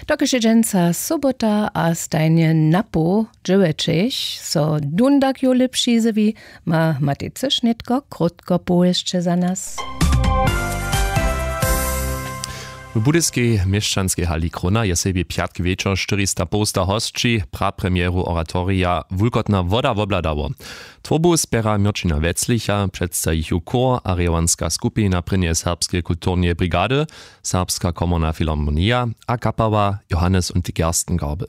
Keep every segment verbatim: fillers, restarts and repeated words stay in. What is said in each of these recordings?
Dokelž je dźensa sobota a stajnje napoł dźewjećich so dundak jow lěpši zjewi, ma matej cyš nětko krótko powěsće za nas. W budyskej měšćanskej hali Krona je sebje pjatk wječor štyrista połsta hosći prapremjeru oratorija wulkotna woda wobladało. Twórbu spjera měrćina weclicha, předstajichu chór a rěwanska skupina prěnjeje serbskeje kulturneje brigady, serbska komorna filharmonija a kapała johannes und die gerstengabel.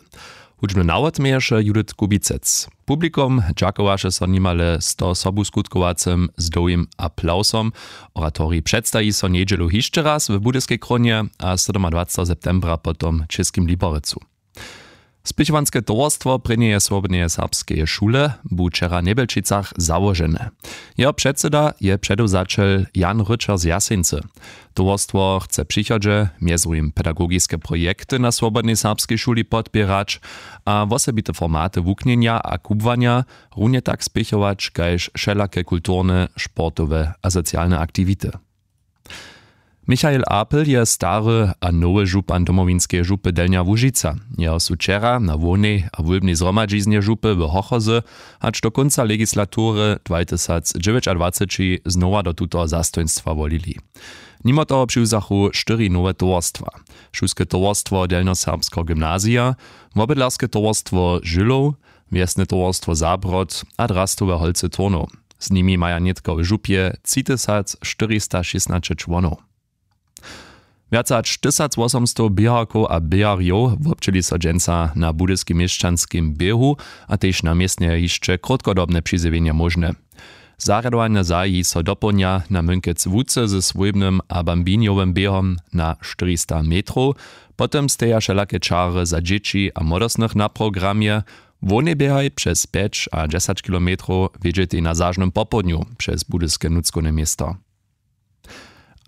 Hudźbny nawod měješe judith kubicec. Publikum dźakowaše so nimale sto sobuskutkowacy z dołhim aplawsom. Oratorij předstaji so njedźelu hišće raz w budyskej krónje a sydomadwaceteho septembra potom w čěskim liporecu. Spěchowanske towarstwo prěnjeje swobodneje serbskeje šule bu wčera w njebjelčicach załožene. Jeho předsyda je předewzaćel jan ryćer z jaseńcy. Towarstwo chce w přichodźe mjez druhim pedagogiske projekty na swobodnej serbskej šuli podpěrać a wosebite formaty wuknjenja a kubłanja runje tak spěchować kaž wšelake kulturne, sportowe a socialne aktiwity. Michael apel je stary a nowy župan domowinskeje župy delnja łužica. Jeho su wčera na hłownej a wólbnej zhromadźiznje župy w hochozy hač do kónca legislatury dwatysacdźewjećadwaceći znowa do tutoho zastojnstwa wolili. Nimo toho přiwzachu štyri nowe towarstwa: šulske towarstwo delnjoserbskeho gymnazija, wobydlerske towarstwo žylow, wjesne towarstwo zabrod a drastowe holcy turnow. Z nimi maja nětko w župje tři tysac štyrista šěsnaće čłonow. Wjace hač tysacwosomstow běharkow a běharjow wobdźěli so dźensa na budyskim měšćanskim běhu a tež na městnje hišće krótkodobne přizjewjenja móžne. Zarjadowanja zahaji so dopołdnja na mynkec łuce ze swójbnym a bambinjowym běhom na štyrista metrow. Potom steja wšelake čary za dźěći a młodostnych na programje. Hłownej běhaj přez pjeć a dźesać kilometrow wjedźetej na zažnym popołdnju přez budyske nutřkowne město.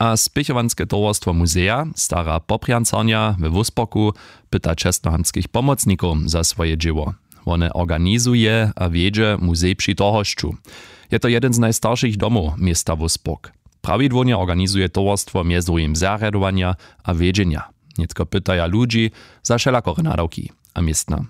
A spěchowanske towarstwo muzeja stara poprjancarnja we wósporku pyta čestnohamtskich pomocnikow za swoje dźěło. Wone organizuje a wjedźe muzej při tohosću. Je to jedyn z najstaršich domow města wóspork. Prawidłownje organizuje towarstwo mjez druhim zarjadowanja a wjedźenja. Nětko pytaja ludźi za wšelakore nadawki a městna.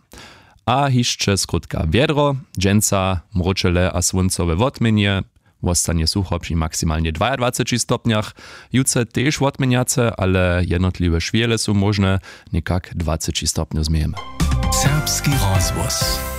A hišće skrótka wjedro. Dźensa mróčele a słóncowe wotměnje. Wostanje sucho při maksimalnje dwajadwaceći stopnjach. Jutře tež wotměnjace, ale jednotliwe šwěle su móžne. Někak dwaceći stopnjow změjemy. Serbski rozhłos.